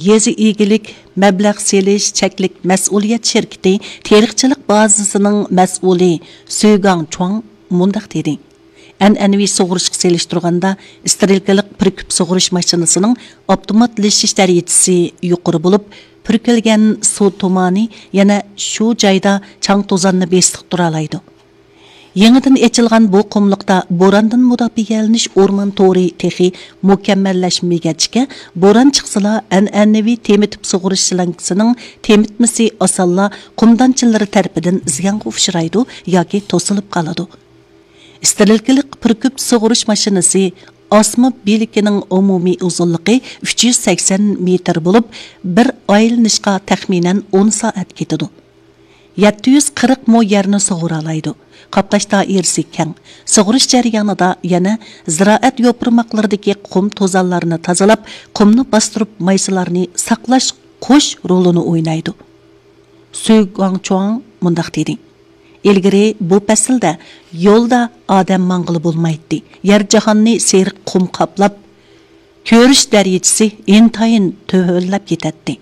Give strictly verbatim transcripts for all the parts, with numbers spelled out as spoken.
يېزا ئىگىلىك مەبلەغ سېلىش چەكلىك مەسئۇلىيەت شىركىتى تېرىقچىلىق بازىسىنىڭ مەسئۇلى سۈگاڭ چۇاڭ مۇنداق دېدى: ئەنئەنىۋى سۇغۇرۇشقا سېلىشتۇرغاندا، ئىسترېلكىلىق پۈركۈپ سۇغۇرۇش ماشىنىسىنىڭ ئاپتوماتلىشىش دەرىجىسى يۇقىرى بولۇپ، پۈركۈلگەن سۇ تۇمانى يەنە شۇ جايدا چاڭ توزاننى بېسىقتۇرالايدۇ. يېڭىدىن ئېچىلغان بۇ قۇملۇقتا بوراندىن مۇداپىئەلىنىش ئورمان تورى تېخى مۇكەممەللەشمىگەچكە، بوران چىقسىلا، ئەنئەنىۋى تېمىتىپ سۇغۇرۇش شلانكىسىنىڭ تېمىتمىسى ئاسانلا قۇمدانچىلىرى تەرىپىدىن زىيانغا ئۇچرايدۇ ياكى توسۇلۇپ قالىدۇ. ئىسترېلكىلىق پۈركۈپ سۇغۇرۇش ماشىنىسى ئاسما بېلىكىنىڭ ئومۇمىي ئۇزۇنلۇقى ئۈچ يۈز سەكسەن مېتىر بولۇپ، بىر ئايلىنىشقا تەخمىنەن ئون سائەت كېتىدۇ. يەتتە يۈز قىرىق مو يەرنى سۇغۇرالايدۇ. قاپلاش دائىرىسى كەڭ. سۇغۇرۇش جەريانىدا يەنە زىرائەت يوپۇرماقلىرىدىكى قۇم توزانلارنى تازىلاپ، قۇمنى باستۇرۇپ، مايسىلارنى ساقلاش قوش رولىنى ئوينايدۇ. سۈ گۇاڭچۇاڭ مۇنداق دېدى: ئىلگىرى بۇ پەسىلدە يولدا ئادەم ماڭغىلى بولمايتتى. يەر جاھاننى سېرىق قۇم قاپلاپ، كۆرۈش دەرىجىسى ئىنتايىن تۆۋەنلەپ كېتەتتى.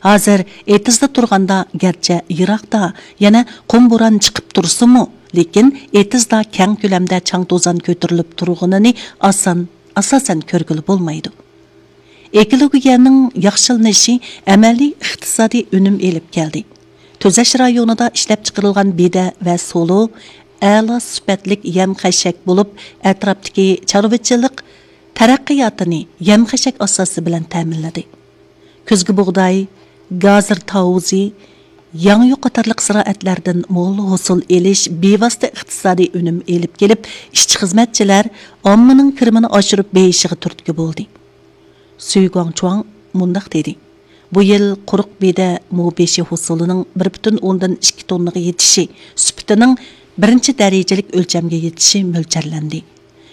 ھازىر ئېتىزدا تۇرغاندا، گەرچە يىراقتا، يەنە قۇم بوران چىقىپ تۇرسىمۇ، لېكىن ئېتىزدا كەڭ كۆلەمدە چاڭ توزان كۆتۈرۈلۈپ تۇرغىنىنى ئاسان، ئاساسەن كۆرگىلى بولمايدۇ. ئېكولوگىيەنىڭ ياخشىلىنىشى ئەمەلىي ئىقتىسادىي ئۈنۈم ئېلىپ كەلدى. تۈزەش رايونىدا ئىشلەپچىقىرىلغان بېدە ۋە سولۇ ئەلا سۈپەتلىك يەم خەشەك بولۇپ، ئەتراپتىكى چارۋىچىلىق تەرەققىياتىنى يەم خەشەك ئاساسى بىلەن تەمىنلىدى. كۈزگى بۇغداي، گازىر تاۋۇزى، ياڭيۇ قاتارلىق زىرائەتلەردىن مول ھوسۇل ئېلىش بىۋاسىتە ئىقتىسادىي ئۈنۈم ئېلىپ كېلىپ، ئىشچى-خىزمەتچىلەر ئاممىنىڭ كىرىمىنى ئاشۇرۇپ بېيىشىغا تۈرتكە بولدى. سۈي گۇاڭچۇاڭ مۇنداق دېدى: بۇ يىل قۇرۇق بېدە مو بېشى ھوسۇلىنىڭ بىر پۈتۈن ئوندىن ئىككى توننىغا يېتىشى، سۈپىتىنىڭ بىرىنچى دەرىجىلىك ئۆلچەمگە يېتىشى مۆلچەرلەندى.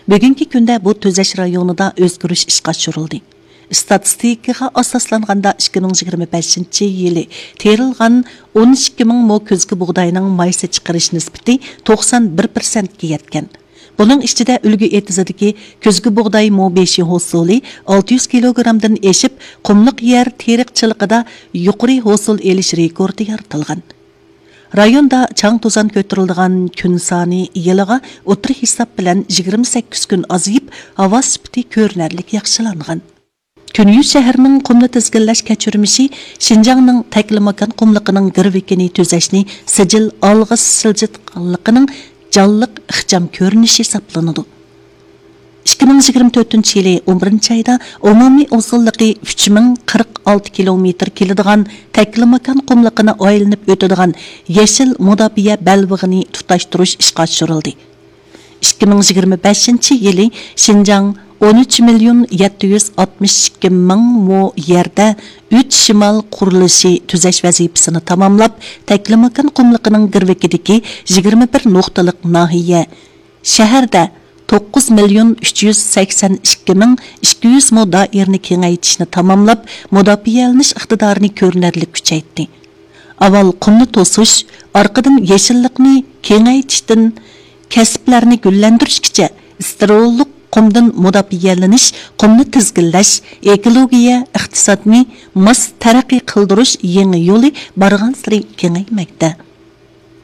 بۈگۈنكى كۈندە بۇ تۈزەش رايونىدا ئۆزگىرىش ئىشقا ئاشۇرۇلدى. ئىستاتىستىكىغا ئاساسلانغاندا، ئىككى مىڭ يىگىرمە بەشىنچى يىلى تېرىلغان ئون ئىككى مىڭ مو كۈزگى بۇغداينىڭ مايسا چىقىرىش نىسبىتى توقسان بىر پىرسەنتكە يەتكەن. بۇنىڭ ئىچىدە ئۈلگە ئېتىزىدىكى كۈزگى بۇغداي مو بېشى ھوسۇلى ئالتە يۈز كىلوگرامدىن ئېشىپ، قۇملۇق يەر تېرىقچىلىقىدا يۇقىرى ھوسۇل ئېلىش رېكورتى يارىتىلغان. رايوندا چاڭ توزان كۆتۈرۈلىدىغان كۈن سانى يىلىغا ئوتتۇرا ھېساب بىلەن يىگىرمە سەككىز كۈن ئازىيىپ، ھاۋا سۈپىتى كۆرۈنەرلىك ياخشىلانغان. تۈنۈگۈن شەھەرنىڭ قۇمنى تىزگىنلەش كەچۈرمىشى شىنجاڭنىڭ تەكلىماكان قۇملۇقىنىڭ گىرۋىكىنى تۈزەشنى سىجىل ئالغا سىلجىتقانلىقىنىڭ جانلىق ئىخچام كۆرۈنۈشى ھېسابلىنىدۇ. ئىككى مىڭ يىگىرمە تۆتىنچى يىلى ئون بىرىنچى ئايدا ئومۇمىي ئۇزۇنلۇقى ئۈچ مىڭ قىرىق ئالتە كىلومېتىر كېلىدىغان تەكلىماكان قۇملۇقىنى ئايلىنىپ ئۆتىدىغان يېشىل مۇداپىئە بەلبېغىنى تۇتاشتۇرۇش ئىشقا ئاشۇرۇلدى. ئىككى مىڭ يىگىرمە بەشىنچى يىلى شىنجاڭ ئون ئۈچ مىليون يەتتە يۈز ئاتمىش ئىككى مىڭ مو يەردە ئۈچ شىمال قۇرۇلۇشى تۈزەش ۋەزىپىسىنى تاماملاپ، تەكلىماكان قۇملۇقىنىڭ گىرۋىكىدىكى يىگىرمە بىر نۇقتىلىق ناھىيە، شەھەردە توققۇز مىليون ئۈچ يۈز سەكسەن ئىككى مىڭ ئىككى يۈز مو دائىرىنى كېڭەيتىشنى تاماملاپ، مۇداپىئەلىنىش ئىقتىدارىنى كۆرۈنەرلىك كۈچەيتتى. ئاۋۋال قۇمنى توسۇش، ئارقىدىن يېشىللىقنى كېڭەيتىشتىن كەسىپلەرنى گۈللەندۈرۈشكىچە، ئىستېرىللىق قۇمدىن مۇداپىئەلىنىش، قۇمنى تىزگىنلەش، ئېكولوگىيە ئىقتىسادنى ماس تەرەققىي قىلدۇرۇش يېڭى يولى بارغانسېرى كېڭەيمەكتە.